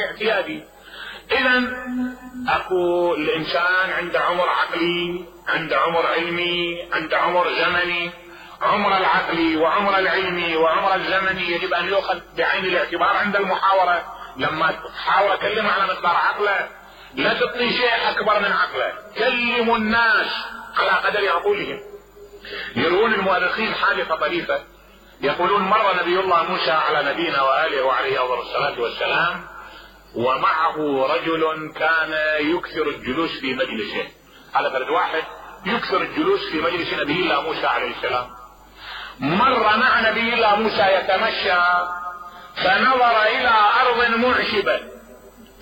اعتيادي. اذا اكو الانسان عنده عمر عقلي، عنده عمر علمي، عنده عمر زمني. عمر العقلي وعمر العلمي وعمر الزمني يجب ان يؤخذ بعين الاعتبار عند المحاورة. لما تحاول اكلم على مقدار عقله، لا تعطي شيء اكبر من عقله. كلموا الناس على قدر عقولهم. يروون المؤرخين حادثة طريفة، يقولون مر نبي الله موسى على نبينا وآله وعليه أفضل الصلاة والسلام، ومعه رجل كان يكثر الجلوس في مجلسه. على فرد واحد يكثر الجلوس في مجلس نبي الله موسى عليه السلام. مر مع نبي الله موسى يتمشى، فنظر إلى أرض معشبة،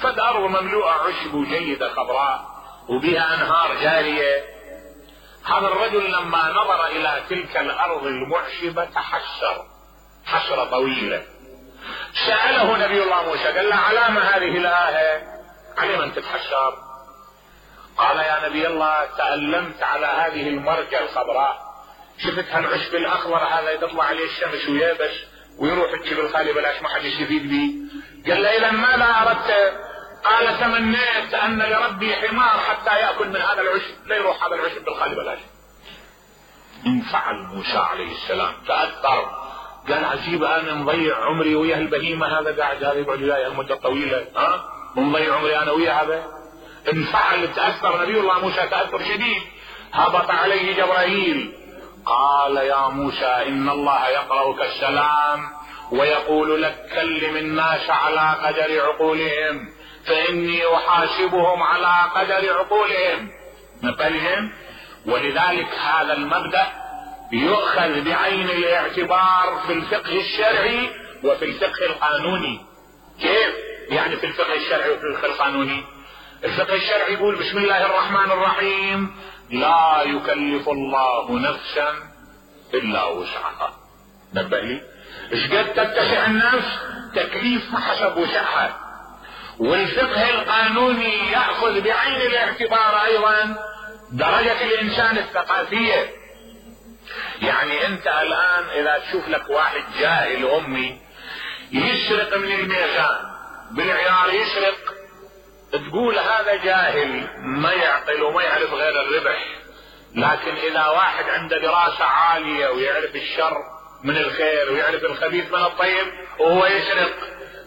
فالأرض مملوءة عشب جيدة خضراء وبها أنهار جارية. هذا الرجل لما نظر إلى تلك الأرض المعشبة تحسر حسرة طويلة. سأله نبي الله موسى قال له علام هذه الآية؟ على من تتحسر؟ قال يا نبي الله تألمت على هذه المرجة الخضراء، شفت هالعشب الأخضر هذا يطلع عليه الشمس ويابس ويروح الجبل الخالي بلاش ما حد يستفيد به. قال له إذا ماذا أردت؟ قال تمنيت أن لربي حمار حتى يأكل من هذا العشب، لا يروح هذا العشب بالخالي بلاش. انفعل موسى عليه السلام، تأثر، قال عجيب أنا مضيع عمري ويا البهيمة هذا قاعد هذا يقعد وياي المدة طويلة، مضيع عمري أنا ويا هذا. انفعل، تأثر نبي الله موسى تأثر شديد. هبط عليه جبرائيل قال يا موسى إن الله يقرأك السلام ويقول لك كلم الناس على قدر عقولهم فإني أحاسبهم على قدر عقولهم مثلهم. ولذلك هذا المبدأ يؤخذ بعين الاعتبار في الفقه الشرعي وفي الفقه القانوني. كيف يعني في الفقه الشرعي وفي الفقه القانوني؟ الفقه الشرعي يقول بسم الله الرحمن الرحيم لا يكلف الله نفسا إلا وسعها. نبه لي ايش قد تتسع النفس؟ تكليف حسب وسعها. والفقه القانوني يأخذ بعين الاعتبار ايضا درجة الانسان الثقافية. يعني انت الان اذا تشوف لك واحد جاهل امي يسرق من الميزان بالعيار يسرق، تقول هذا جاهل ما يعقل وما يعرف غير الربح. لكن اذا واحد عنده دراسة عالية ويعرف الشر من الخير ويعرف الخبيث من الطيب وهو يسرق،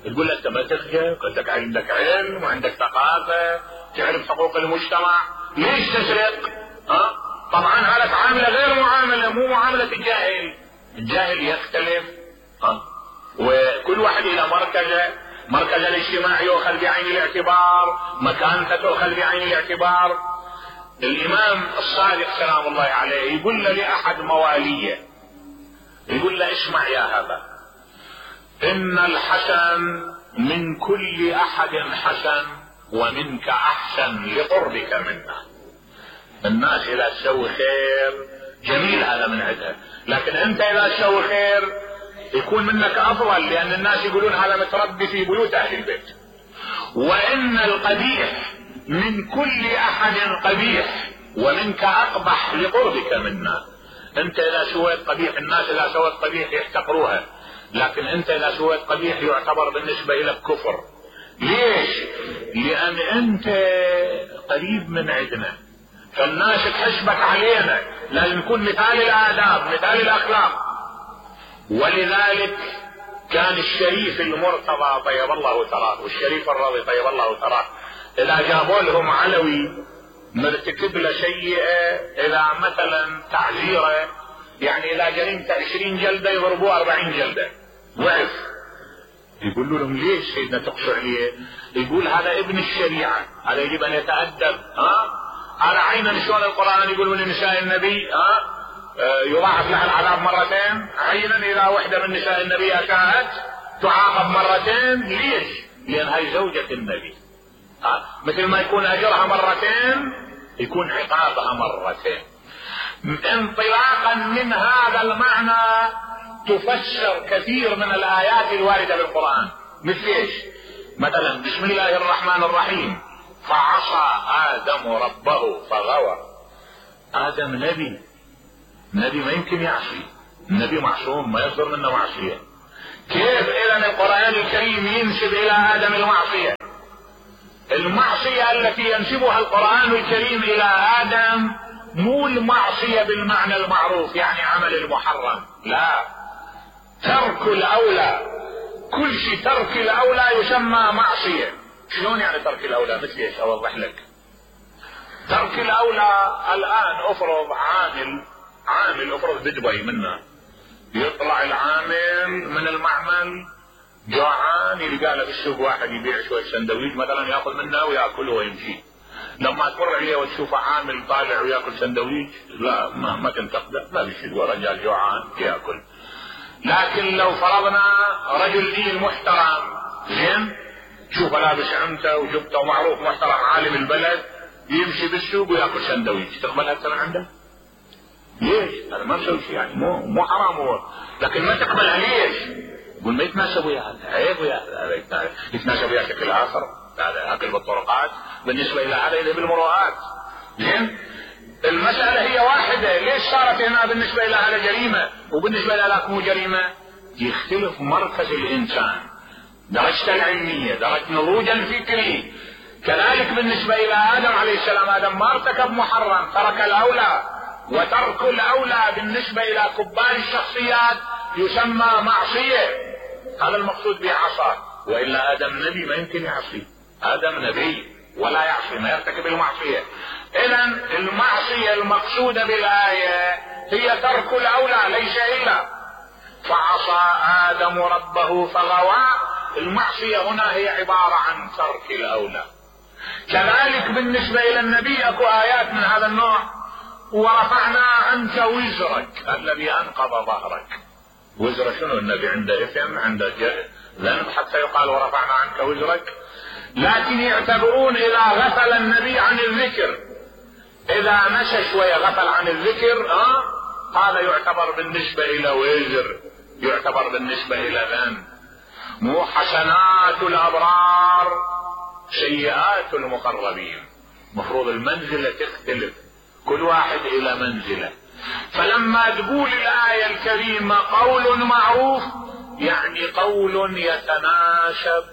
تقول له انت ما تخجل، عندك علم وعندك ثقافة تعرف حقوق المجتمع، ليش تسرق؟ طبعا هذا عاملة غير معاملة، مو معاملة الجاهل. الجاهل يختلف. وكل واحد الى مركز الاجتماع يؤخذ بعين الاعتبار، مكانته تؤخذ بعين الاعتبار. الامام الصادق سلام الله عليه يقول له لاحد مواليه، يقول له اسمع يا هذا، ان الحسن من كل احد حسن ومنك احسن لقربك منا. الناس اذا تسوي خير جميل هذا من عندها، لكن انت اذا تسوي خير يكون منك افضل، لان الناس يقولون هذا متربي في بيوت اهل البيت. وان القبيح من كل احد قبيح ومنك اقبح لقربك منا. انت اذا سويت قبيح، الناس اذا سوت قبيح يحتقروها، لكن انت اذا سويت قبيح يعتبر بالنسبة الى كفر. ليش؟ لان انت قريب من عندنا، فالناس تحسبك علينا، لازم نكون مثال الاداب مثال الاخلاق. ولذلك كان الشريف المرتضى طيب الله ثراه والشريف الرضي طيب الله ثراه اذا جابوا لهم علوي مرتكب له سيئة، اذا مثلا تعزيره، يعني اذا جريمته 20 جلدة يضربوه 40 جلدة وعف. يقولوا لهم ليش سيدنا تقصوا عليه؟ يقول هذا ابن الشريعة، هذا يجب ان يتأدب. هذا عينا شلون القرآن يقول من نساء النبي يضاعف لها العذاب مرتين، عينا اذا وحدة من نساء النبي اشاءت تعاقب مرتين. ليش؟ لان هاي زوجة النبي. مثل ما يكون اجرها مرتين يكون عقابها مرتين. انطلاقا من هذا المعنى تفسر كثير من الايات الواردة بالقرآن. مثل ايش؟ مثلا بسم الله الرحمن الرحيم فعصى ادم ربه فغوى. ادم نبي ما يمكن يعصي، النبي معصوم ما يصدر منه معصية. كيف اذا القرآن الكريم ينسب الى ادم المعصية؟ المعصية التي ينسبها القرآن الكريم إلى آدم مو المعصية بالمعنى المعروف يعني عمل المحرم، لا، ترك الأولى. كل شيء ترك الأولى يسمى معصية. شلون يعني ترك الأولى؟ مثل ايش؟ أوضح لك. ترك الأولى الآن افرض عامل افرض بدبي منا، يطلع العامل من المعمل جوعان، يلقى له بالسوق واحد يبيع شوية سندويش مثلا، ياخذ منه وياكل ويمشي. لما تمر عليه وتشوفه عامل طالع وياكل سندويش، لا ما تنتقده، ما بيشد، رجال جوعان ياكل. لكن لو فرضنا رجل دين محترم زين، تشوفه لابس عمته وجبته ومعروف محترم عالم البلد، يمشي بالسوق وياكل سندويش، تقبل هذا من عنده؟ ليش؟ هذا ما مسوي شيء يعني، مو حرام هو، لكن ما تقبلها ليش؟ يقول ما يتناسب ويا هذا، عيب ويا هذا، يتناسب ويا شكل اخر، هذا اكل بالطرقات بالنسبه الى هذا يذهب المروءات. زين؟ المساله هي واحده، ليش صارت هنا بالنسبه الى هذا جريمه وبالنسبه الى ذاك مو جريمه؟ يختلف مركز الانسان، درجته العلميه، درجه نضوجه الفكري. كذلك بالنسبه الى ادم عليه السلام، ادم ما ارتكب محرم، ترك الاولى، وترك الاولى بالنسبه الى كبار الشخصيات يسمى معصيه. هذا المقصود بعصا، والا ادم نبي ما يمكن يعصي، ادم نبي ولا يعصي، ما يرتكب المعصيه. اذا المعصيه المقصوده بالايه هي ترك الاولى ليس الا. فعصى ادم ربه فغوى، المعصيه هنا هي عباره عن ترك الاولى. كذلك بالنسبه الى النبي اكو ايات من هذا النوع، ورفعنا عنك وزرك الذي انقض ظهرك. وزر شنو؟ النبي عنده اثم، عنده ذنب حتى يقال ورفعنا عنك وزرك. لكن يعتبرون اذا غفل النبي عن الذكر، اذا مشى شويه غفل عن الذكر، هذا يعتبر بالنسبه الى وزر، يعتبر بالنسبه الى ذنب. مو حسنات الابرار سيئات المقربين، مفروض المنزله تختلف، كل واحد الى منزله. فلما تقول الآية الكريمة قول معروف، يعني قول يتناسب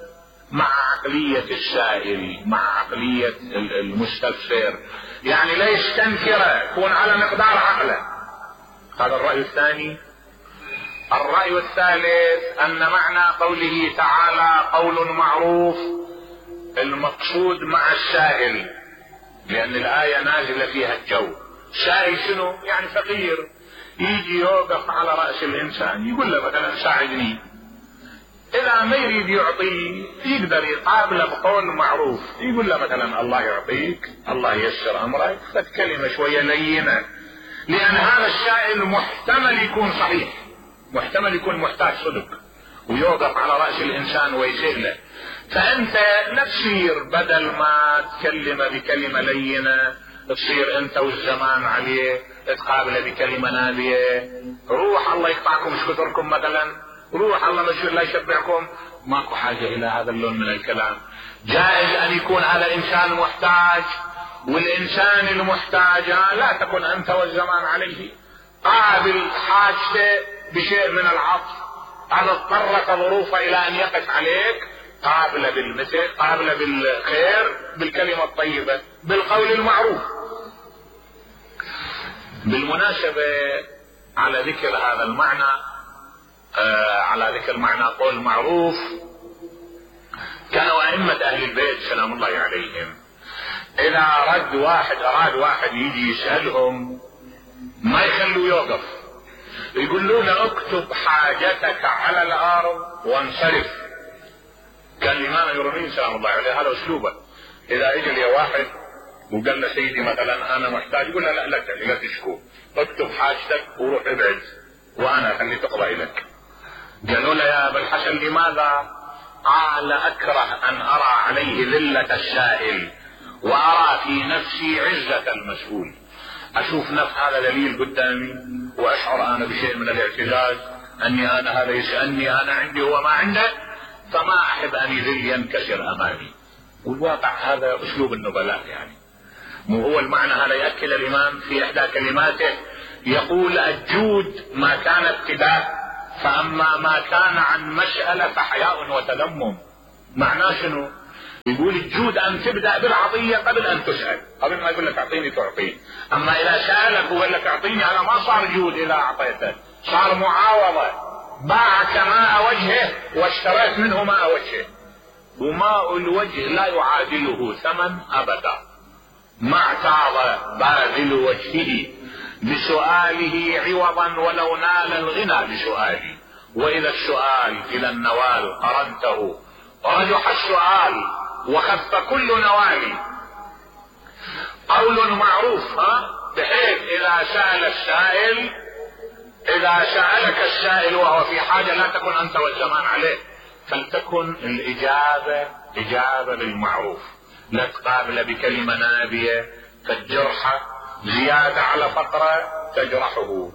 مع عقلية السائل، مع عقلية المستفسر، يعني لا يستنكره، يكون على مقدار عقله. هذا الرأي الثاني. الرأي الثالث أن معنى قوله تعالى قول معروف المقصود مع السائل، لأن الآية نازلة فيها الجو. سائل شنو؟ يعني فقير، يجي يوقف على رأس الإنسان يقول له مثلا ساعدني، إذا ما يريد يعطيه يقدر يقابله بقول معروف، يقول له مثلا الله يعطيك، الله ييسر أمرك، فكلمة شوية لينة، لأن هذا السائل محتمل يكون صحيح، محتمل يكون محتاج صدق، ويوقف على رأس الإنسان ويسير له. فأنت لا تصير بدل ما تكلمه بكلمة لينة تصير انت والزمان عليه تقابله بكلمة نابية، روح الله يقطعكم ايش كثركم مثلا، روح الله لا يشبعكم، ماكو حاجة الى هذا اللون من الكلام. جائز ان يكون هذا انسان محتاج، والانسان المحتاج لا تكن انت والزمان عليه، قابل حاجته بشيء من العطف، هذا اضطرت ظروفه الى ان يقف عليك، قابله بالمثل، قابله بالخير، بالكلمة الطيبة، بالقول المعروف. بالمناسبة على ذكر هذا المعنى، على ذكر معنى قول معروف، كانوا أئمة أهل البيت سلام الله عليهم إذا أراد واحد يجي يسألهم ما يخلوا يوقف، يقولوا له اكتب حاجتك على الأرض وانصرف. كان الإمام الرمين سلام الله عليه هذا أسلوبه، إذا اجى لي واحد وقال له سيدي مثلا أنا محتاج، يقول له لا تشكو، اكتب حاجتك وروح ابعد وأنا خلي تقضى لك. قالوا له يا أبا الحسن لماذا؟ قال أكره أن أرى عليه ذلة السائل وأرى في نفسي عزة المسؤول. أشوف نفس هذا دليل قدامي وأشعر أنا بشيء من الاعتزاز أني أنا هذا يسألني أنا عندي هو ما عنده، فما أحب أن يذل ينكسر أمامي. والواقع هذا أسلوب النبلاء، يعني مو هو المعنى هذا. يأكد الإمام في إحدى كلماته يقول الجود ما كان ابتداء، فأما ما كان عن مسألة فحياء وتلمم. معناه شنو؟ يقول الجود ان تبدأ بالعطية قبل ان تسأل، قبل ما يقول لك اعطيني تعطيه. اما اذا سألك وقال لك اعطيني هذا ما صار جود، اذا اعطيته صار معاوضة، باعك ماء وجهه واشتريت منه ماء وجهه، وماء الوجه لا يعادله ثمن ابدا. ما اعتاض باذل وجهه بسؤاله عوضا ولو نال الغنى بسؤاله. واذا السؤال الى النوال قرنته ورجح السؤال وخف كل نوال. قول معروف بحيث اذا سأل السائل، اذا سألك السائل وهو في حاجة لا تكن انت والزمان عليه، فلتكن الاجابة اجابة بالمعروف، لا تقابل بكلمة نابية فالجرحة زيادة على فقرة تجرحه،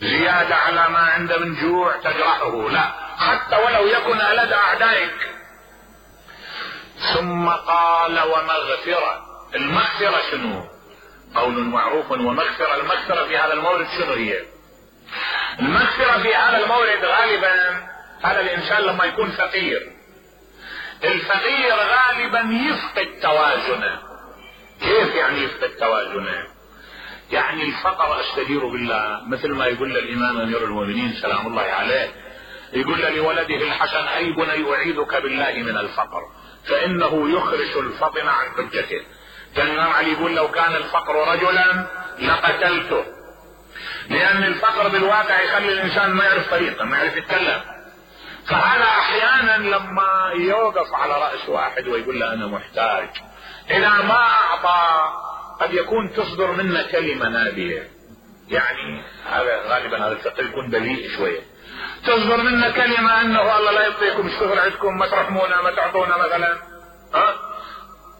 زيادة على ما عنده من جوع تجرحه، لا، حتى ولو يكن ألد أعدائك. ثم قال ومغفرة. المغفرة شنو؟ قول معروف ومغفرة. المغفرة في هذا المورد شنو هي؟ المغفرة في هذا المورد غالبا هذا الإنسان لما يكون فقير، الفقير غالبا يفقد توازنه. كيف يعني يفقد توازنه؟ يعني الفقر استجير بالله، مثل ما يقول الامام امير المؤمنين سلام الله عليه، يقول لولده الحسن اي بني اعيذك بالله من الفقر فانه يخرج الفطن عن حجته. كان الامام علي يقول لو كان الفقر رجلا لقتلته، لان الفقر بالواقع يخلي الانسان ما يعرف طريقه، ما يعرف يتكلم. فهذا احيانا لما يوقف على راس واحد ويقول له انا محتاج، اذا ما اعطى قد يكون تصدر منا كلمة نابية، يعني هذا غالبا هذا الفقر يكون بليء شوية، تصدر منا كلمة انه الله لا يعطيكم، اشتغل عندكم، ما ترحمونا، ما تعطونا مثلا.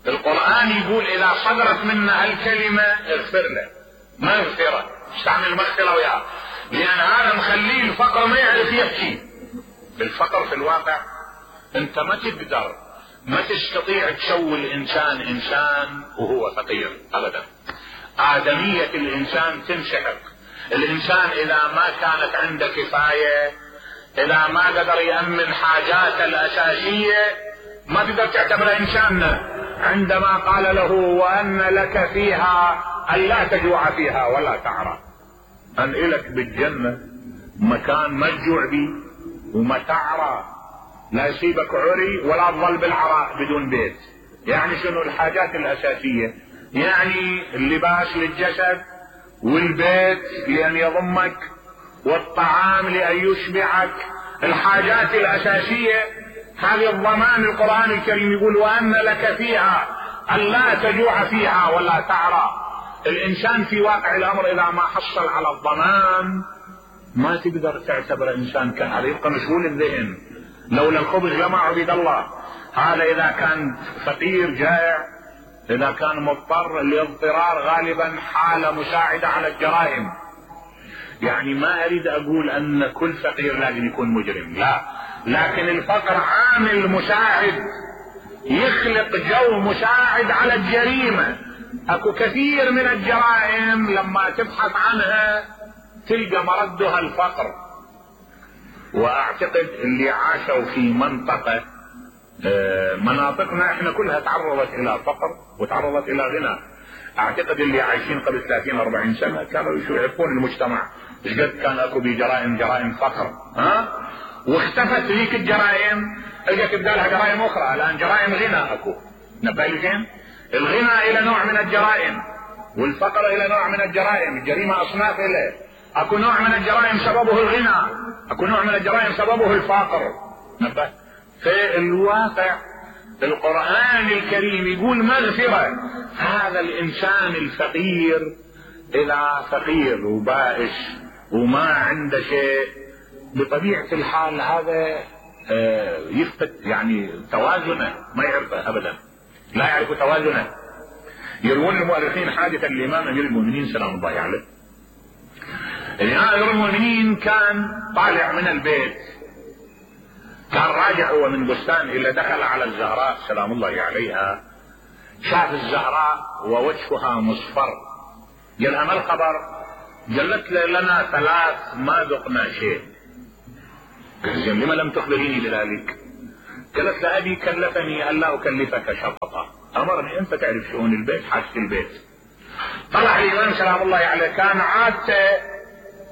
القرآن يقول اذا صدرت منا الكلمة اغفر له، مغفرة، استعمل مغفرة وياه، لان هذا مخليه الفقر ما يعرف يحكي. الفقر في الواقع انت ما تقدر، ما تستطيع تسوي الانسان انسان وهو فقير ابدا. آدمية الانسان تنسحق. الانسان اذا ما كانت عنده كفاية، اذا ما قدر يأمن حاجاته الاساسية، ما تقدر تعتبره انسان. عندما قال له وان لك فيها ان لا تجوع فيها ولا تعرى، ان الك بالجنة مكان ما تجوع بيه وما تعرى، لا يصيبك عري ولا تظل بالعراء بدون بيت. يعني شنو الحاجات الاساسية؟ يعني اللباس للجسد، والبيت لان يضمك، والطعام لان يشبعك، الحاجات الاساسية هذه الضمان. القرآن الكريم يقول وان لك فيها ان لا تجوع فيها ولا تعرى. الانسان في واقع الامر اذا ما حصل على الضمان ما تقدر تعتبر انسان كامل، يبقى مشغول الذهن. لولا الخبز لما عبد الله. هذا اذا كان فقير جائع، اذا كان مضطر، الاضطرار غالبا حالة مساعدة على الجرائم. يعني ما اريد اقول ان كل فقير لازم يكون مجرم، لا، لكن الفقر عامل مساعد، يخلق جو مساعد على الجريمة. اكو كثير من الجرائم لما تبحث عنها تلقى مردها الفقر. واعتقد اللي عاشوا في منطقة، مناطقنا احنا كلها تعرضت الى فقر وتعرضت الى غنى. اعتقد اللي عايشين قبل 30-40 سنة كانوا يعرفون المجتمع ايش قد كان اكو جرائم فقر، واختفت ذيك الجرائم، اجت بدالها جرائم اخرى. الان جرائم غنى اكو، نبالغين. الغنى الى نوع من الجرائم، والفقر الى نوع من الجرائم. الجريمة اصناف اليه، اكو نوع من الجرائم سببه الغنى، اكو نوع من الجرائم سببه الفقر. نبه. في الواقع القرآن الكريم يقول مغفرة. هذا الانسان الفقير اذا فقير وبائس وما عنده شيء، بطبيعة الحال هذا يفقد يعني توازنه، ما يعرفه ابدا، لا يعرف توازنه. يروون المؤرخين حادثا الامام امير المؤمنين سلام الله عليه. الامام امير المؤمنين كان طالع من البيت، كان راجع هو من بستان الى دخل على الزهراء سلام الله عليها، شاف الزهراء ووجهها مصفر. قال ما الخبر؟ قالت لنا 3 ما ذقنا شيء. قال لما لم تخبريني بذلك؟ قالت له ابي كلفني ان لا اكلفك شططا، امرني انت تعرف شؤون البيت، حاجة البيت. طلع الامام سلام الله عليه كان عادته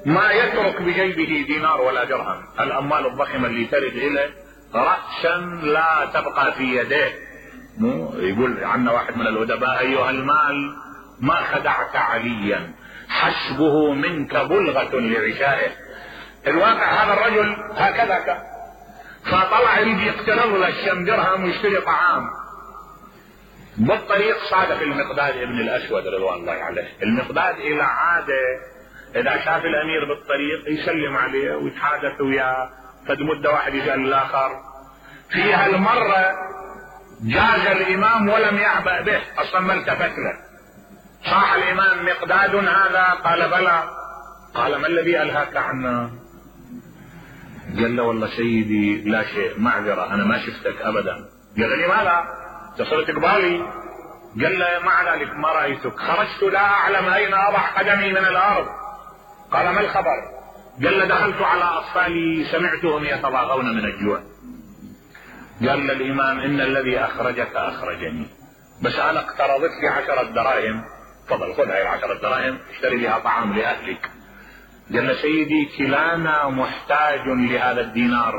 ما يترك بجيبه دينار ولا درهم، الاموال الضخمة اللي ترد اليه رأسا لا تبقى في يديه. يقول عنا واحد من الادباء: ايها المال ما خدعت عليا، حسبه منك بلغة لعشائه. الواقع هذا الرجل هكذا كان، فطلع يجي يقترض له الشم درهم ويشتري طعام. بالطريق صادف المقداد ابن الاسود رضوان الله عليه. المقداد الى عاده اذا شاف الامير بالطريق يسلم عليه ويتحادث وياه، فد مده واحد يسال الاخر. في هالمره جاز الامام ولم يعبأ به، اصلا ما التفت له. صاح الامام: مقداد هذا؟ قال بلى. قال: ما الذي الهاك عنا؟ قال له: والله سيدي لا شيء، معذرة، انا ما شفتك ابدا. قال: لماذا؟ تصرت قبالي؟ قال له: مع ذلك ما رأيتك، خرجت لا اعلم اين اضع قدمي من الارض. قال: ما الخبر؟ قال له: دخلت على اطفالي سمعتهم يتضاغون من الجوع. قال الامام: ان الذي اخرجك اخرجني، بس انا اقترضت لي 10 دراهم، تفضل خذ هاي 10 دراهم اشتري بها طعام لاهلك. قال له: سيدي كلانا محتاج لهذا الدينار،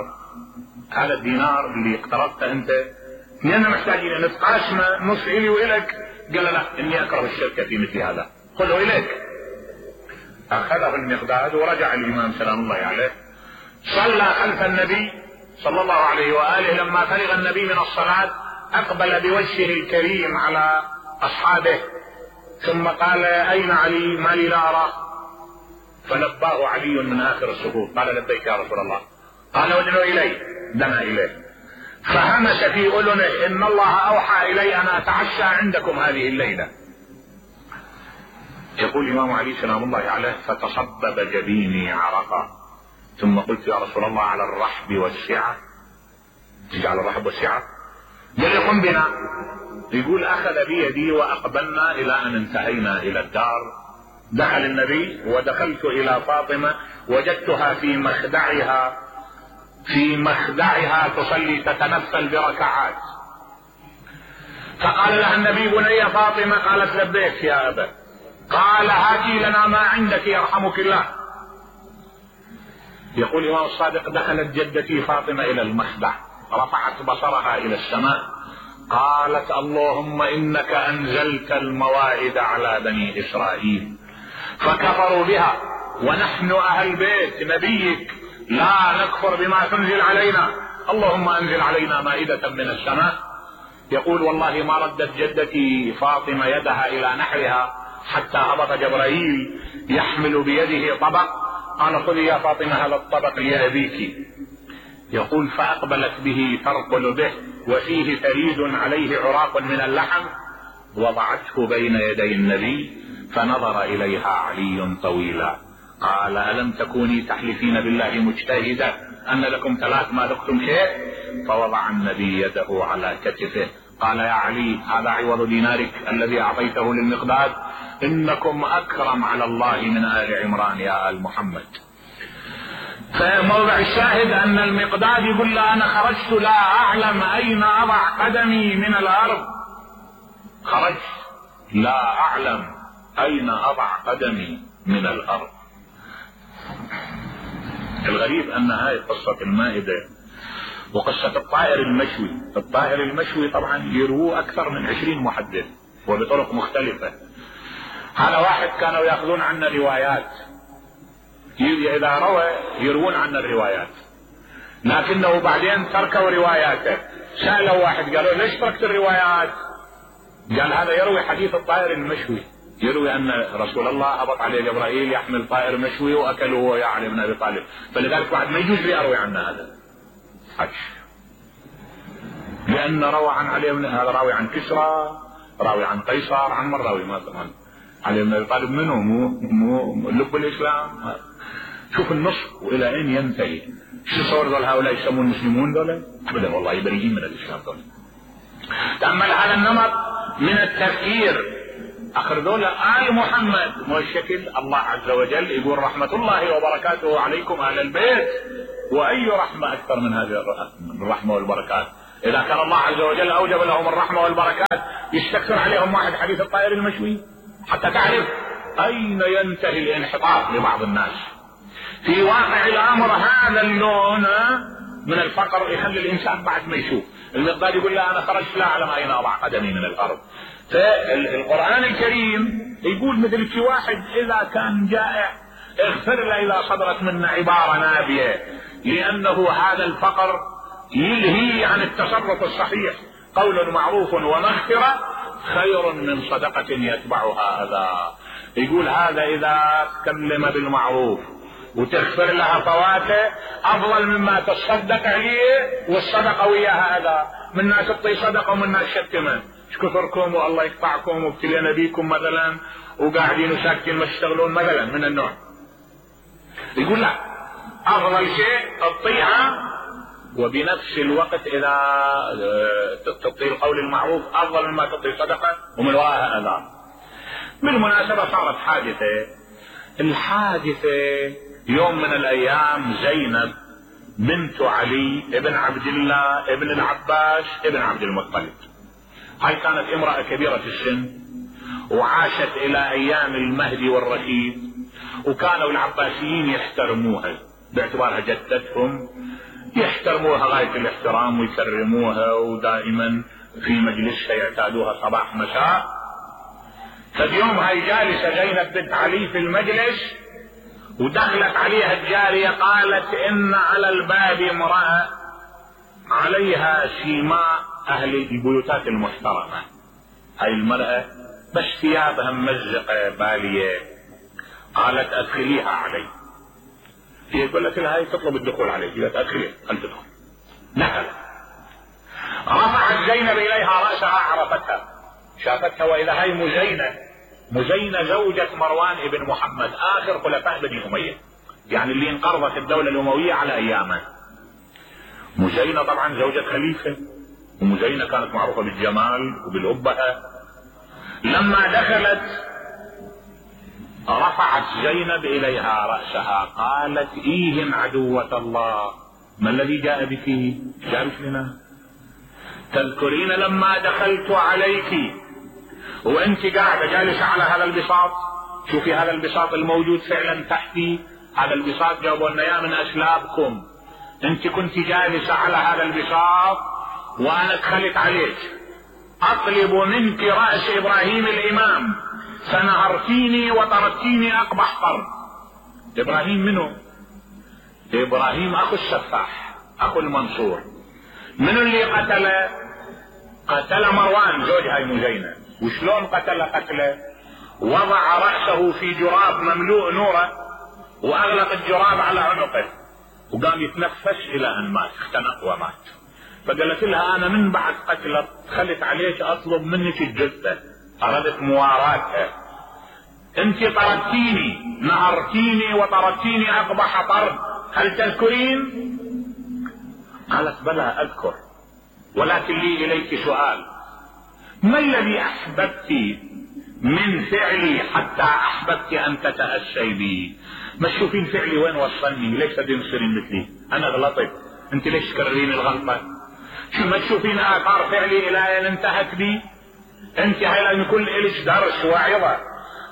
هذا الدينار اللي اقترضته انت كلنا محتاجين ان نتقاسمه، نص الي والك. قال له: لا، اني اكره الشركه في مثل هذا، خذه اليك. اخذه المقداد ورجع الامام سلام الله عليه، صلى خلف النبي صلى الله عليه واله. لما فرغ النبي من الصلاه اقبل بوجهه الكريم على اصحابه، ثم قال: اين علي؟ ما لي لا اراه. فلباه علي من اخر الصفوف، قال: لبيك يا رسول الله. قال: ادعو الي. دنا اليه فهمس في اذنه: ان الله اوحى الي ان اتعشى عندكم هذه الليله. يقول الامام علي سلام الله عليه: فتصبب جبيني عرقا، ثم قلت: يا رسول الله على الرحب والسعه، تجعل الرحب والسعه؟ قال: قم بنا. يقول: اخذ بيدي واقبلنا الى ان انتهينا الى الدار. دخل النبي ودخلت الى فاطمه، وجدتها في مخدعها تصلي تتنفل بركعات. فقال لها النبي: بني فاطمه. قالت: لبيك يا ابا. قال: هاتي لنا ما عندك يرحمك الله. يقول الامام الصادق: دخلت جدتي فاطمه الى المخدع، رفعت بصرها الى السماء، قالت: اللهم انك انزلت المواعظ على بني اسرائيل فكفروا بها، ونحن اهل بيت نبيك لا نكفر بما تنزل علينا، اللهم انزل علينا مائدة من السماء. يقول: والله ما ردت جدتي فاطمة يدها الى نحرها حتى هبط جبرائيل يحمل بيده طبق، قال: خذي يا فاطمة هذا الطبق لأبيك. يقول: فاقبلت به ترقل به وفيه ثريد عليه عراق من اللحم، وضعته بين يدي النبي، فنظر اليها علي طويلا، قال: الم تكوني تحلفين بالله مجتهدة ان لكم 3 ما ذقتم شيء؟ فوضع النبي يده على كتفه، قال: يا علي، هذا عوض دينارك الذي اعطيته للمقداد، انكم اكرم على الله من آل عمران يا آل محمد. فموضع الشاهد ان المقداد يقول له: انا خرجت لا اعلم اين اضع قدمي من الارض، خرجت لا اعلم اين اضع قدمي من الارض. الغريب ان هاي قصة المائدة وقصة الطائر المشوي. الطائر المشوي طبعا يروه اكثر من 20 محدث وبطرق مختلفة. هذا واحد كانوا ياخذون عنا روايات، اذا روى يروون عنا الروايات، لكنه بعدين تركوا رواياته. سألوا واحد قالوا: ليش تركت الروايات؟ قال: هذا يروي حديث الطائر المشوي، يروي ان رسول الله هبط عليه جبرائيل يحمل طائر مشوي واكله هو يا علي بن ابي طالب، فلذلك بعد ما يجوز لي اروي عنه هذا حج، لان روى عن علي بن، هذا راوي عن كسرى، راوي عن قيصر، عن من راوي ما طبعا علي بن ابي طالب منه مو لب الاسلام. شوف النص والى اين ينتهي. شو صور ذول هؤلاء يسمون المسلمون ذولا؟ ابدا والله بريئين من الاسلام ذولا. تأمل هذا النمط من التفكير. اخر ذولا آل محمد مو الشكل. الله عز وجل يقول: رحمة الله وبركاته عليكم اهل البيت، واي رحمة اكثر من هذه الرحمة والبركات اذا كان الله عز وجل اوجب لهم الرحمة والبركات يستكثر عليهم واحد حديث الطائر المشوي حتى تعرف اين ينتهي الانحطاط لبعض الناس. في واقع الامر هذا اللون من الفقر يخلي الانسان بعد ما يشوف المقدار يقول لا انا خرجت لا اعلم اين اضع قدمي من الارض. فالقرآن الكريم يقول مثل في واحد اذا كان جائع اغفر له اذا صدرت منا عبارة نابية، لانه هذا الفقر يلهي عن التصرف الصحيح. قول معروف ومغفرة خير من صدقة يتبعها اذى. يقول هذا اذا تكلم بالمعروف وتغفر لها فواته افضل مما تصدق عليه والصدقة وياها اذى. من ناس تعطي صدقة ومن ناس شتمه ايش كثركم والله يقطعكم وابتلينا بيكم مثلا وقاعدين وساكتين ما تشتغلون مثلا من النوع. يقول لا افضل شيء الطيعة وبنفس الوقت اذا تطيع القول المعروف افضل مما تطيع صدقة ومن وراءها اذى. بالمناسبة صارت حادثة، الحادثة يوم من الايام زينب بنت علي ابن عبد الله ابن العباس ابن عبد المطلب، هاي كانت امرأة كبيرة في السن وعاشت الى ايام المهدي والرشيد، وكانوا العباسيين يحترموها باعتبارها جدتهم، يحترموها غاية الاحترام ويكرموها ودائما في مجلسها يعتادوها صباح مساء. فاليوم هاي جالسة زينب بنت علي في المجلس ودخلت عليها الجارية قالت ان على الباب امرأة عليها سيماء اهل البيوتات المحترمة. هاي المرأة بس ثيابها ممزقة بالية، قالت ادخليها علي. هي قالت لها هاي تطلب الدخول عليك، قالت ادخليها خل تدخل. دخلت رفعت زينب اليها رأسها عرفتها شافتها واذا هاي مزينة زوجة مروان ابن محمد اخر خلفاء بني امية، يعني اللي انقرضت الدولة الاموية على ايامه. مزينة طبعا زوجة خليفة، ومزينة كانت معروفة بالجمال وبالأبهة. لما دخلت رفعت زينب اليها رأسها قالت ايهم عدوة الله ما الذي جاء بك؟ جاء لنا تذكرين لما دخلت عليك وانت قاعدة جالسة على هذا البساط، شوفي هذا البساط الموجود فعلا تحتي، هذا البساط جابوا لنا اياه من اسلابكم، انت كنت جالسة على هذا البساط وانا دخلت عليك اطلب منك رأس ابراهيم الامام فنهرتيني وطردتيني اقبح طرد. ابراهيم منه؟ ابراهيم اخو السفاح اخو المنصور. منو اللي قتل مروان زوج هاي مزينة. وشلون قتله؟ وضع رأسه في جراب مملوء نوره واغلق الجراب على عنقه وقام يتنفس الى ان مات، اختنق ومات. فقالت لها انا من بعد قتله دخلت عليك اطلب منك الجثة، اردت مواراتها. انت طردتيني نهرتيني وطردتيني اقبح طرد، هل تذكرين؟ قالت بلى اذكر، ولكن لي اليك سؤال، ما الذي احببت من فعلي حتى احببت ان تتأسي بي؟ ما تشوفين فعلي وين وصلني؟ ليش تنصرين مثلي؟ انا غلطت، انت ليش تكررين الغلطة؟ شو ما تشوفين اثار فعلي الى ان انتهت بي؟ انت هاي لازم يكون لك درس وعظة.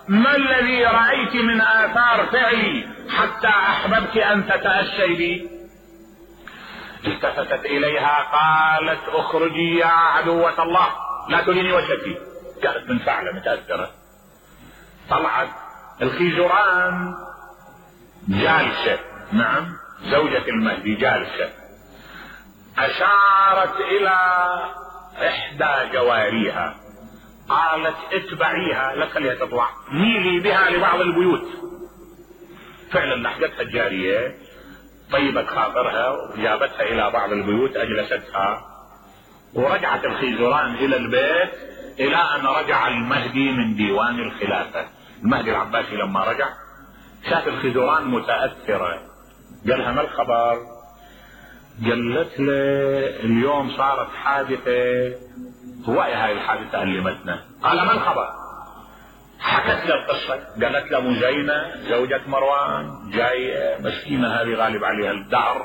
ما الذي رأيت من آثار فعلي حتى أحببت أن تتأسي بي؟ التفتت إليها قالت اخرجي يا عدوة الله لا تريني وجهك. كانت منفعلة متأثرة. طلعت الخيزران جالسة، نعم زوجة المهدي جالسة، أشارت إلى إحدى جواريها قالت اتبعيها لا تخليها تطلع، ميلي بها لبعض البيوت. فعلا لحقتها الجارية طيبت خاطرها وجابتها الى بعض البيوت اجلستها، ورجعت الخيزران الى البيت الى ان رجع المهدي من ديوان الخلافة. المهدي العباسي لما رجع شاف الخيزران متأثرة، قالها ما الخبر؟ قالت له اليوم صارت حادثة، هواية هاي الحادثة ألمتنا. قال ما الخبر؟ حكت له القصة، قالت له مزينة زوجة مروان جاية مسكينة هذه غالب عليها الدهر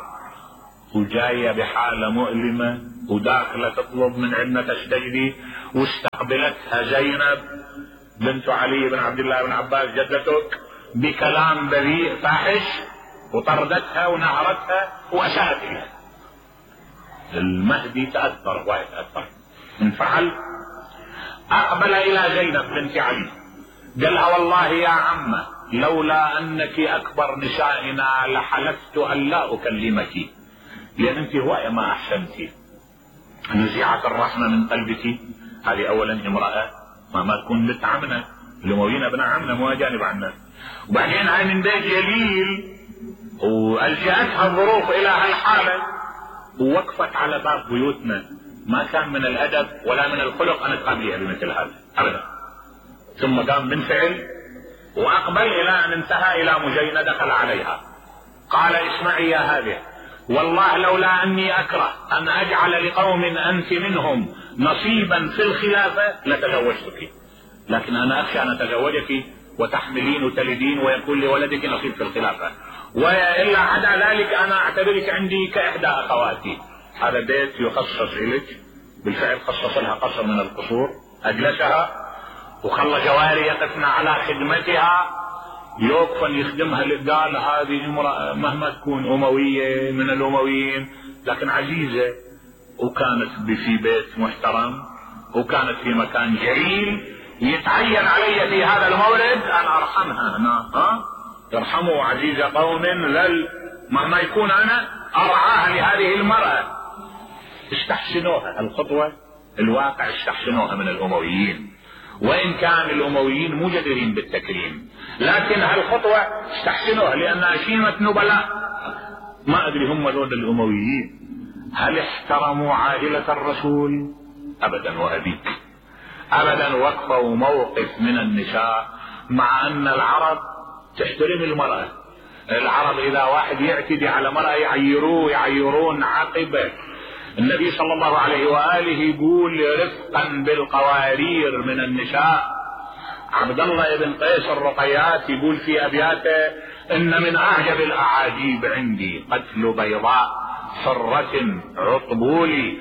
وجاية بحالة مؤلمة وداخلة تطلب من عندنا تستجدي، واستقبلتها زينب بنت علي بن عبد الله بن عباس جدتك بكلام بذيء فاحش، وطردتها ونهرتها وأساءت إليها. المهدي تأثر ويتأثر، انفعل، أقبل إلى زينب بنت علي قالها والله يا عمة لولا أنك أكبر نسائنا لحلفت أن لا أكلمك، لأن أنت هواية ما أحسنتي، نزيعة الرحمة من قلبك. هذه أولا امرأة ما تكون بنت عمنا، الأمويين ابن عمنا مو أجانب عنا، وبعدين هاي من بيت جليل وألجأتها الظروف إلى هالحالة ووقفت على باب بيوتنا. ما كان من الأدب ولا من الخلق أن تقابلها بمثل هذا أبدا. ثم قام بانفعل وأقبل إلى أن انتهى إلى مجينة دخل عليها قال اسمعي يا هذه، والله لولا أني أكره أن أجعل لقوم أنت منهم نصيبا في الخلافة لتزوجتك، لكن أنا أخشى أن أتزوجك وتحملين وتلدين ويكون لولدك نصيب في الخلافة، وإلا عدا ذلك أنا أعتبرك عندي كإحدى أخواتي. هذا بيت يخصص إليك، بالفعل خصص لها قصر من القصور، أجلسها وخلى جواري يقفن على خدمتها، يوقفن يخدمها. قال هذه امرأة مهما تكون أموية من الأمويين لكن عزيزة، وكانت في بيت محترم وكانت في مكان جليل، يتعين علي في هذا المورد أن أرحمها. أنا يرحموا عزيز قوم مهما يكون أنا أرعاها لهذه المرأة. استحسنوها الخطوة، الواقع استحسنوها من الأمويين، وإن كان الأمويين مو جديرين بالتكريم، لكن هالخطوة استحسنوها لأنها شيمة نبلاء. ما أدري هم ذول الأمويين هل احترموا عائلة الرسول؟ أبدا وأبيك أبدا. وقفوا موقف من النساء، مع أن العرب تحترم المرأة. العرب إذا واحد يعتدي على مرأة يعيرون عقبه. النبي صلى الله عليه وآله يقول رفقا بالقوارير من النساء. عبد الله بن قيس الرقيات يقول في أبياته إن من أعجب الأعاجيب عندي قتل بيضاء حرة عطبول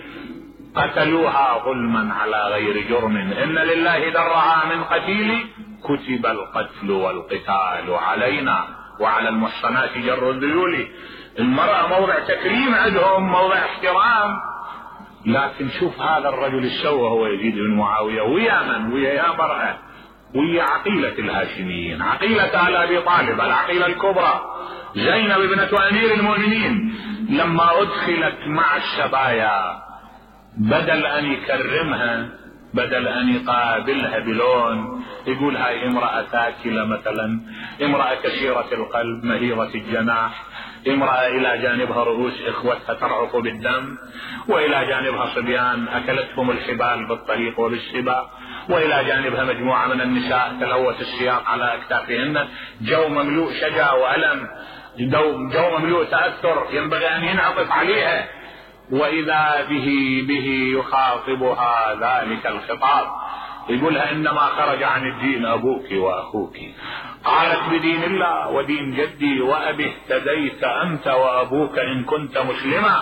قتلوها ظلما على غير جرم، إن لله درها من قتيل كتب القتل والقتال علينا وعلى المحصنات جر الذيول. المرأة موضع تكريم عندهم، موضع احترام. لكن شوف هذا الرجل السوى هو يزيد بن معاوية، ويا من؟ ويا يا مرأة، ويا عقيلة الهاشميين، عقيلة آل أبي طالب، العقيلة الكبرى زينب ابنة أمير المؤمنين. لما أدخلت مع السبايا بدل أن يكرمها، بدل أن يقابلها بلون، يقول هاي امرأة تاكلة مثلا، امرأة كثيرة القلب مهيرة الجناح، امرأة إلى جانبها رؤوس إخوتها ترعق بالدم، وإلى جانبها صبيان أكلتهم الحبال بالطريق وبالسباق، وإلى جانبها مجموعة من النساء تلوث السياق على أكتافهن. جو مملوء شجا وألم، جو مملوء تأثر ينبغي أن ينعطف عليها، وإذا به يخاطبها ذلك الخطاب، يقولها إنما خرج عن الدين أبوك وأخوك. قالت بدين الله ودين جدي وأبي اهتديت أنت وأبوك إن كنت مسلما.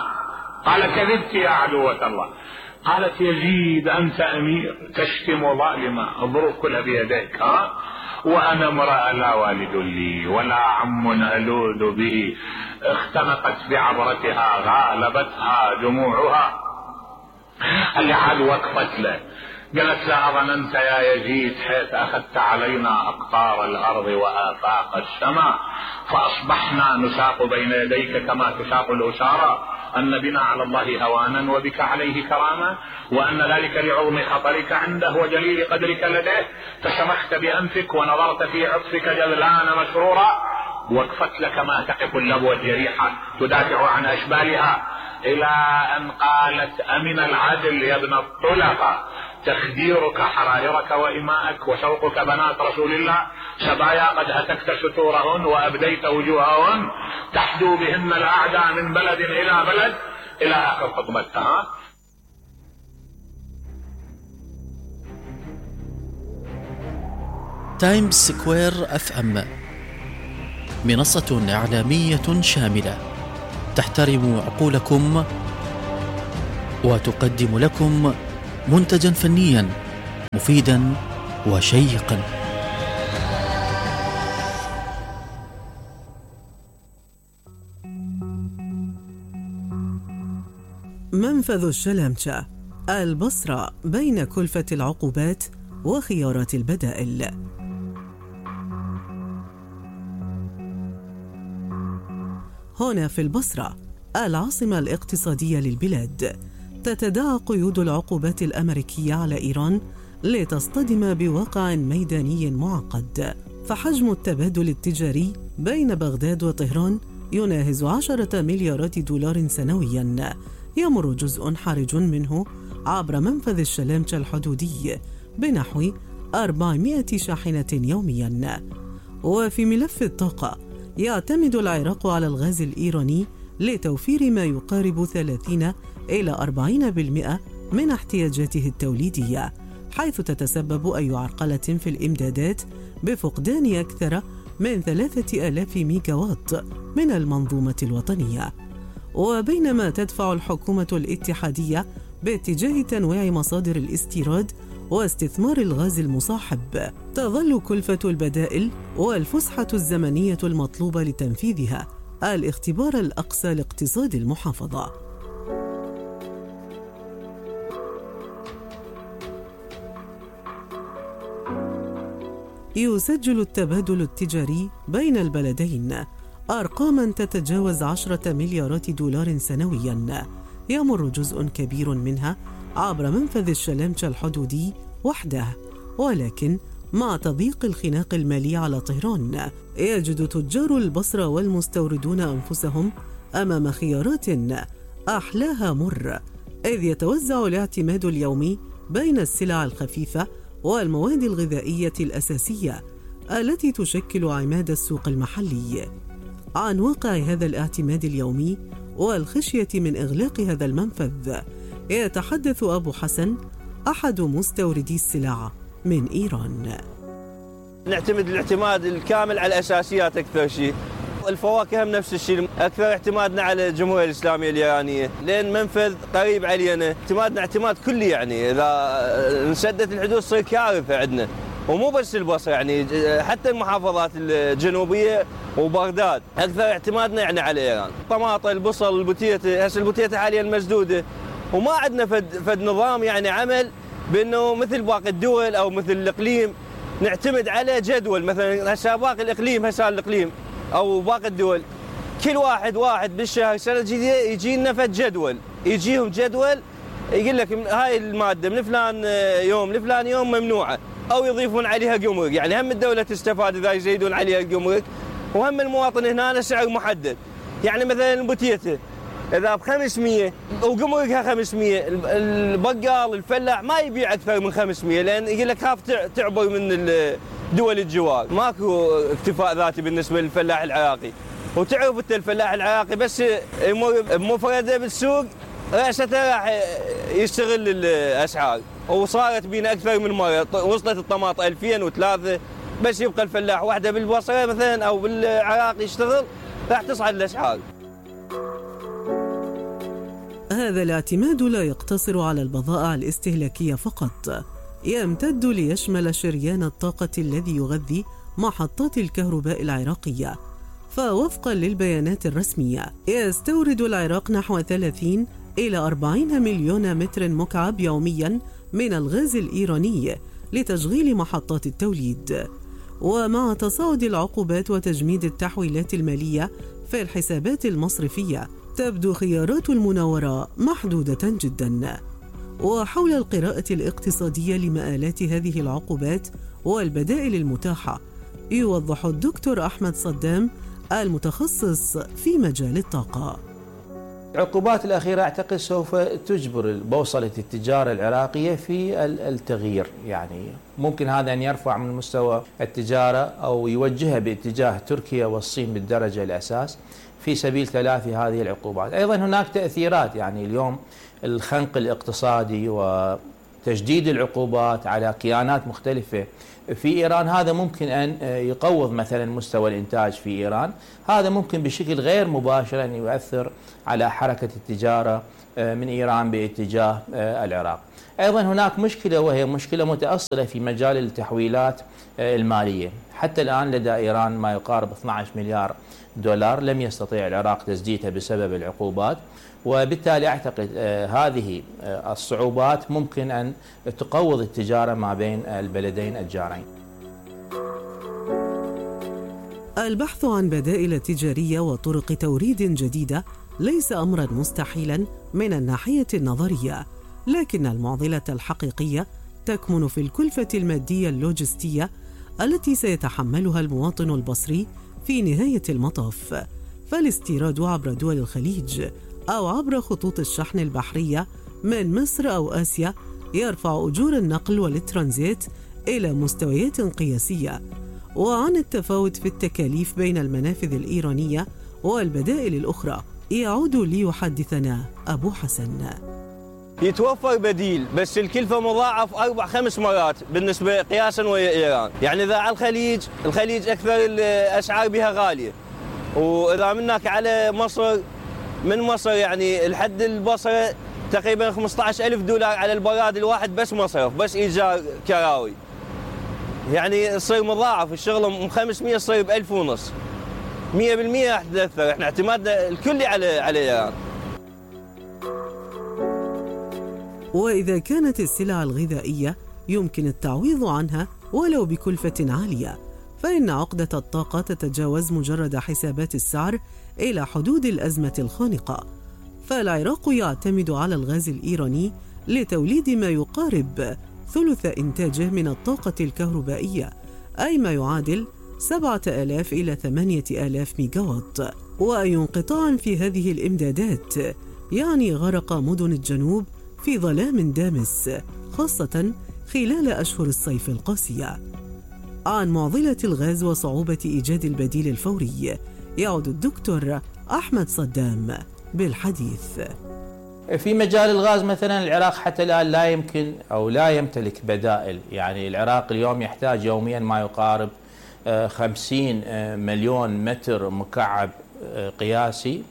قال كذبت يا عدوة الله. قالت يزيد أنت أمير تشتم ظالما، الظروف كلها بيديك، وأنا امرأة لا والد لي ولا عم ألوذ به، اختنقت بعبرتها غالبتها دموعها. اللي عاد وقفت له قالت لا أظننت يا يزيد حيث أخذت علينا أقطار الأرض وآفاق السماء فأصبحنا نساق بين يديك كما تساق الأسارى، أن بنا على الله هوانا وبك عليه كرامة، وأن ذلك لعظم خطرك عنده وجليل قدرك لديه، فشمخت بأنفك ونظرت في عطفك جذلان مسرورا. وقفت لك ما تقف اللبوة الجريحة تدافع عن أشبالها، إلى أن قالت أمن العدل يا ابن الطلقة تخديرك حرائرك وإماءك وشوقك بنات رسول الله، سبايا قد هتكت ستورهن وأبديت وجوههن تحدو بهن الأعداء من بلد إلى بلد، إلى آخر خطبتها. تايمز سكوير FM منصة إعلامية شاملة تحترم عقولكم وتقدم لكم منتجا فنيا مفيدا وشيقا. منفذ الشلامشة، البصرة بين كلفة العقوبات وخيارات البدائل. هنا في البصرة العاصمة الاقتصادية للبلاد، تتداعى قيود العقوبات الأمريكية على إيران لتصطدم بواقع ميداني معقد، فحجم التبادل التجاري بين بغداد وطهران يناهز 10 مليارات دولار سنوياً، يمر جزء حرج منه عبر منفذ الشلامشة الحدودي بنحو 400 شاحنة يومياً. وفي ملف الطاقة، يعتمد العراق على الغاز الإيراني لتوفير ما يقارب 30 إلى 40% من احتياجاته التوليدية، حيث تتسبب أي عرقلة في الإمدادات بفقدان أكثر من 3000 ميجاوات من المنظومة الوطنية. وبينما تدفع الحكومة الاتحادية باتجاه تنويع مصادر الاستيراد واستثمار الغاز المصاحب، تظل كلفة البدائل والفسحة الزمنية المطلوبة لتنفيذها الاختبار الأقصى لاقتصاد المحافظة. يسجل التبادل التجاري بين البلدين أرقاماً تتجاوز 10 مليارات دولار سنوياً، يمر جزء كبير منها عبر منفذ الشلامشة الحدودي وحده. ولكن مع تضييق الخناق المالي على طهران، يجد تجار البصرة والمستوردون أنفسهم أمام خيارات أحلاها مر، إذ يتوزع الاعتماد اليومي بين السلع الخفيفة والمواد الغذائية الأساسية التي تشكل عماد السوق المحلي. عن واقع هذا الاعتماد اليومي والخشية من إغلاق هذا المنفذ يتحدث أبو حسن، أحد مستوردي السلع من إيران. نعتمد الاعتماد الكامل على الأساسيات أكثر شيء، الفواكه هم نفس الشيء، أكثر اعتمادنا على الجمهورية الإسلامية الإيرانية لأن منفذ قريب علينا، اعتمادنا اعتماد كلي، يعني إذا انسدت الحدود تصير كارثة عندنا. ومو بس البصرة، يعني حتى المحافظات الجنوبية وبغداد أكثر اعتمادنا يعني على إيران. طماطة، البصل، البوتيتة، هسه البوتيتة حاليا مسدودة، وما عندنا فد نظام يعني عمل بأنه مثل باقي الدول أو مثل الإقليم نعتمد على جدول. مثلا هسه باقي الإقليم، هسه الإقليم أو باقي الدول كل واحد بالشهر سنة جديدة يجي لنا فد جدول، يجيهم جدول يقول لك هاي المادة من فلان يوم لفلان يوم ممنوعة، أو يضيفون عليها جمرك. يعني هم الدولة تستفاد إذا يزيدون عليها الجمرك، وهم المواطن هنا سعر محدد. يعني مثلا البوتيتة إذا ب500 وجمركها 500، البقال الفلاح ما يبيع أكثر من 500، لأن يقول لك خاف تعبر من دول الجوار. ماكو اكتفاء ذاتي بالنسبة للفلاح العراقي. وتعرف أنت الفلاح العراقي بس يمر بمفردة بالسوق رأسته راح يستغل الأسعار. وصارت بينا أكثر من مرة، وصلت الطماطة 2003، بس يبقى الفلاح واحدة بالبصرة مثلا أو بالعراق يشتغل راح تصعد الأسعار. هذا الاعتماد لا يقتصر على البضائع الاستهلاكية فقط، يمتد ليشمل شريان الطاقة الذي يغذي محطات الكهرباء العراقية. فوفقا للبيانات الرسمية، يستورد العراق نحو 30 إلى 40 مليون متر مكعب يوميا من الغاز الإيراني لتشغيل محطات التوليد. ومع تصاعد العقوبات وتجميد التحويلات المالية في الحسابات المصرفية، تبدو خيارات المناورة محدودة جدا. وحول القراءة الاقتصادية لمآلات هذه العقوبات والبدائل المتاحة، يوضح الدكتور أحمد صدام المتخصص في مجال الطاقة. العقوبات الأخيرة أعتقد سوف تجبر بوصلة التجارة العراقية في التغيير، يعني ممكن هذا أن يرفع من مستوى التجارة أو يوجهها باتجاه تركيا والصين بالدرجة الأساس في سبيل تلافي هذه العقوبات. أيضا هناك تأثيرات، يعني اليوم الخنق الاقتصادي وتجديد العقوبات على كيانات مختلفة في إيران، هذا ممكن أن يقوض مثلا مستوى الإنتاج في إيران. هذا ممكن بشكل غير مباشر أن يؤثر على حركة التجارة من إيران باتجاه العراق. أيضا هناك مشكلة، وهي مشكلة متأصلة في مجال التحويلات المالية. حتى الآن لدى إيران ما يقارب 12 مليار دولار لم يستطيع العراق تسديدها بسبب العقوبات، وبالتالي أعتقد هذه الصعوبات ممكن أن تقوض التجارة ما بين البلدين الجارين. البحث عن بدائل تجارية وطرق توريد جديدة ليس أمرا مستحيلا من الناحية النظرية، لكن المعضلة الحقيقية تكمن في الكلفة المادية اللوجستية التي سيتحملها المواطن البصري في نهاية المطاف. فالاستيراد عبر دول الخليج أو عبر خطوط الشحن البحرية من مصر أو آسيا يرفع أجور النقل والترانزيت إلى مستويات قياسية. وعن التفاوت في التكاليف بين المنافذ الإيرانية والبدائل الأخرى يعود ليحدثنا أبو حسن. يتوفر بديل، بس الكلفة مضاعف 4-5 مرات بالنسبة قياسا ويا إيران. يعني إذا على الخليج أكثر الأسعار بها غالية، وإذا منك على مصر، من مصر يعني الحد البصرة تقريبا 15,000 دولار على البراد الواحد، بس مصرف، بس إيجار كراوي. يعني يصير مضاعف الشغل، من 500 يصير ب1500. 100% راح تتأثر. احنا اعتمادنا الكلي على إيران. وإذا كانت السلع الغذائية يمكن التعويض عنها ولو بكلفة عالية، فإن عقدة الطاقة تتجاوز مجرد حسابات السعر إلى حدود الأزمة الخانقة. فالعراق يعتمد على الغاز الإيراني لتوليد ما يقارب ثلث إنتاجه من الطاقة الكهربائية، أي ما يعادل 7,000 إلى 8,000 ميجاوات. وأي انقطاع في هذه الإمدادات يعني غرق مدن الجنوب في ظلام دامس، خاصة خلال أشهر الصيف القاسية. عن معضلة الغاز وصعوبة إيجاد البديل الفوري يعود الدكتور أحمد صدام بالحديث. في مجال الغاز مثلا العراق حتى الآن لا يمكن أو لا يمتلك بدائل. يعني العراق اليوم يحتاج يوميا ما يقارب 50 مليون متر مكعب قياسي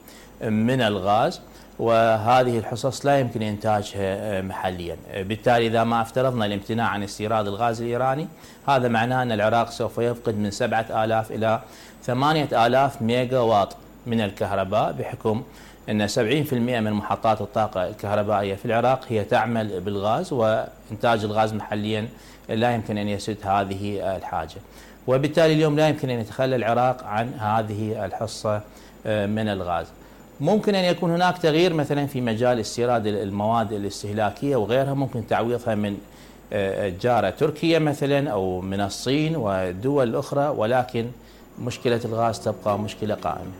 من الغاز، وهذه الحصص لا يمكن إنتاجها محليا. بالتالي إذا ما افترضنا الامتناع عن استيراد الغاز الإيراني، هذا معناه أن العراق سوف يفقد من 7,000 إلى 8,000 ميجا واط من الكهرباء، بحكم أن 70% من محطات الطاقة الكهربائية في العراق هي تعمل بالغاز، وإنتاج الغاز محليا لا يمكن أن يسد هذه الحاجة. وبالتالي اليوم لا يمكن أن يتخلى العراق عن هذه الحصة من الغاز. ممكن أن يكون هناك تغيير مثلا في مجال استيراد المواد الاستهلاكية وغيرها، ممكن تعويضها من جارة تركيا مثلا أو من الصين والدول الأخرى، ولكن مشكلة الغاز تبقى مشكلة قائمة.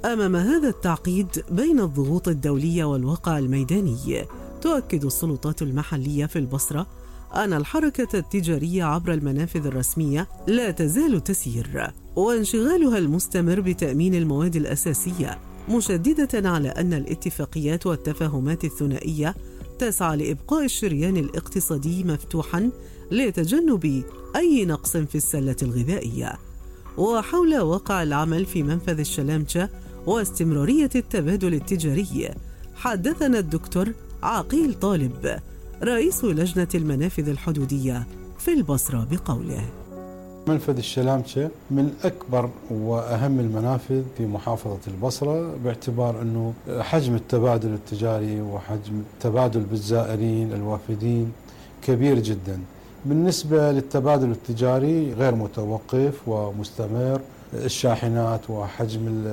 أمام هذا التعقيد بين الضغوط الدولية والواقع الميداني، تؤكد السلطات المحلية في البصرة أن الحركة التجارية عبر المنافذ الرسمية لا تزال تسير، وانشغالها المستمر بتأمين المواد الأساسية، مشددة على أن الاتفاقيات والتفاهمات الثنائية تسعى لإبقاء الشريان الاقتصادي مفتوحا لتجنب أي نقص في السلة الغذائية. وحول واقع العمل في منفذ الشلامشة واستمرارية التبادل التجاري، حدثنا الدكتور عقيل طالب رئيس لجنة المنافذ الحدودية في البصرة بقوله: منفذ الشلامشة من أكبر وأهم المنافذ في محافظة البصرة، باعتبار أنه حجم التبادل التجاري وحجم التبادل بالزائرين الوافدين كبير جدا. بالنسبة للتبادل التجاري غير متوقف ومستمر، الشاحنات وحجم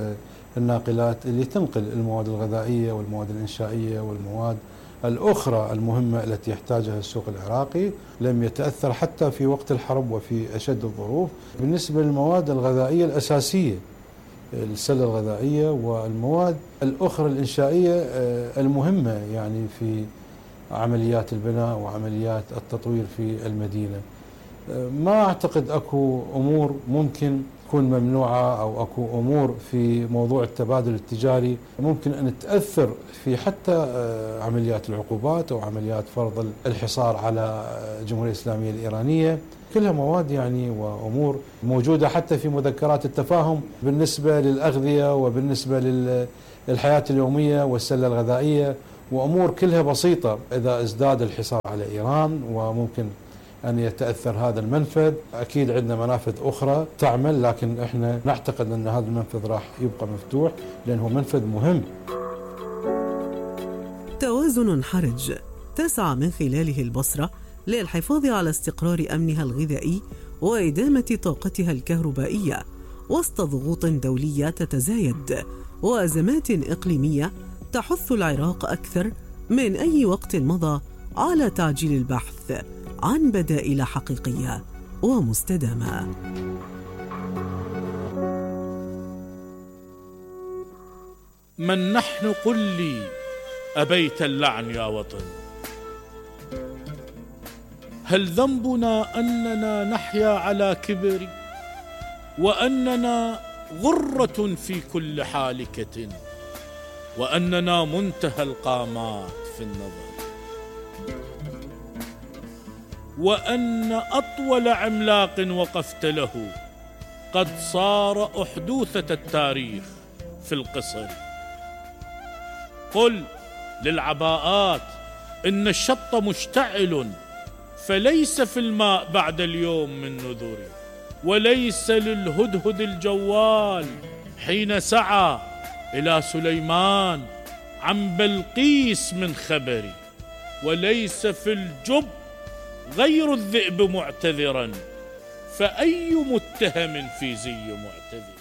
الناقلات اللي تنقل المواد الغذائية والمواد الإنشائية والمواد الأخرى المهمة التي يحتاجها السوق العراقي لم يتأثر حتى في وقت الحرب وفي أشد الظروف. بالنسبة للمواد الغذائية الأساسية، السلة الغذائية والمواد الأخرى الإنشائية المهمة يعني في عمليات البناء وعمليات التطوير في المدينة، ما أعتقد أكو أمور ممكن تكون ممنوعة أو أكو أمور في موضوع التبادل التجاري ممكن أن تأثر في حتى عمليات العقوبات أو عمليات فرض الحصار على الجمهورية الإسلامية الإيرانية. كلها مواد يعني وأمور موجودة حتى في مذكرات التفاهم بالنسبة للأغذية وبالنسبة الحياة اليومية والسلة الغذائية وأمور كلها بسيطة. إذا ازداد الحصار على إيران وممكن أن يتأثر هذا المنفذ، أكيد عندنا منافذ أخرى تعمل، لكن إحنا نعتقد أن هذا المنفذ راح يبقى مفتوح لأنه منفذ مهم. توازن حرج تسعى من خلاله البصرة للحفاظ على استقرار أمنها الغذائي وإدامة طاقتها الكهربائية وسط ضغوط دولية تتزايد وأزمات إقليمية تحث العراق أكثر من أي وقت مضى على تعجيل البحث عن بدائل حقيقية ومستدامة. من نحن قل لي أبيت اللعن يا وطن؟ هل ذنبنا أننا نحيا على كبر وأننا غرة في كل حالكة وأننا منتهى القامات في النظر وأن أطول عملاق وقفت له قد صار أحدوثة التاريخ في القصر؟ قل للعباءات إن الشط مشتعل فليس في الماء بعد اليوم من نذر، وليس للهدهد الجوال حين سعى إلى سليمان عن بلقيس من خبر، وليس في الجب غير الذئب معتذرا، فأي متهم في زي معتذر؟